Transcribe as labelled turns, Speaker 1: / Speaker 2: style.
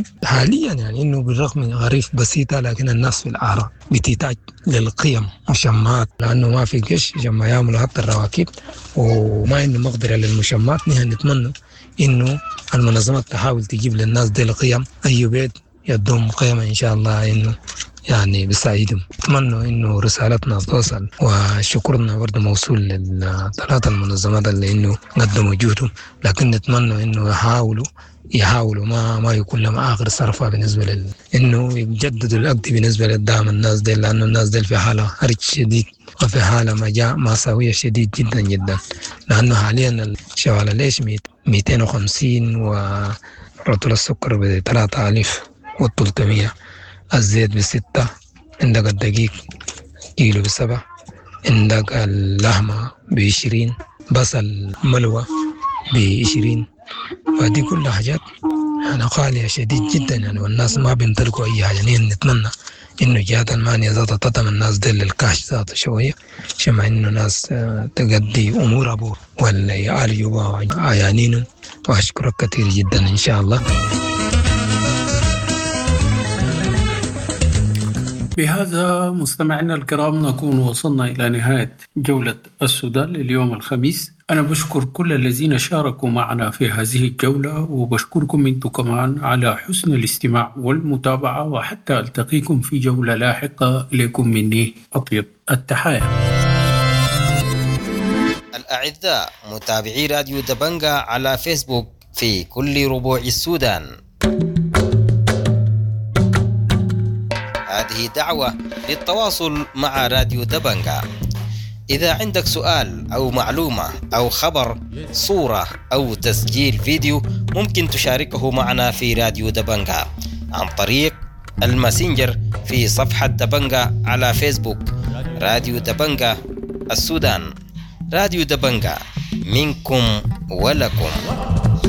Speaker 1: لكن حاليا يعني انه بالرغم من غريف بسيطة لكن الناس في العراء بتحتاج للقيم مشمعات لانه ما في قش عشان ما يعملوا حتى الرواكيب وما عندهم مقدره للمشمعات. نحن نتمنى انه المنظمات تحاول تجيب للناس دي القيم، اي بيت يدوم قيمة ان شاء الله انه يعني بيساعدهم. اتمنى انه رسالتنا توصل، وشكرنا برضه موصول للثلاث المنظمات اللي انه قدموا جهدهم، لكن نتمنى انه يحاولوا ما يكون لهم اخر صرفه بالنسبه لل انه يجددوا العقد بالنسبه للدعم الناس دي، لانه الناس دي في حاله حرج شديد وفي حاله مأساوية شديد جدا جدا، لانه حاليا شوال العيش 250 ورطل السكر ب 3300، الزيت ب6، عندك الدقيق كيلو ب7، عندك اللحمة ب20، بصل ملوى ب20، فدي كلها حاجات يعني غالية شديد جدا يعني، والناس ما بيمتلكوا أي حاجة. يعني نتمنى إنه جهات المانية ذاتها تدعم الناس دي للكاش ذاته شوية، عشان ما إنه ناس تقضي أمور أبوه ولا يعالجوا عيانينهم. وأشكرك كثير جدا إن شاء الله.
Speaker 2: بهذا مستمعينا الكرام نكون وصلنا إلى نهاية جولة السودان لليوم الخميس. أنا بشكر كل الذين شاركوا معنا في هذه الجولة، وبشكركم أنتم كمان على حسن الاستماع والمتابعة، وحتى ألتقيكم في جولة لاحقة. لكم مني أطيب التحايا.
Speaker 3: الأعزاء متابعي راديو دبنجا على فيسبوك في كل ربوع السودان، هذه دعوة للتواصل مع راديو دبنجا. إذا عندك سؤال أو معلومة أو خبر، صورة أو تسجيل فيديو، ممكن تشاركه معنا في راديو دبنجا عن طريق الماسنجر في صفحة دبنجا على فيسبوك. راديو دبنجا السودان، راديو دبنجا منكم ولكم.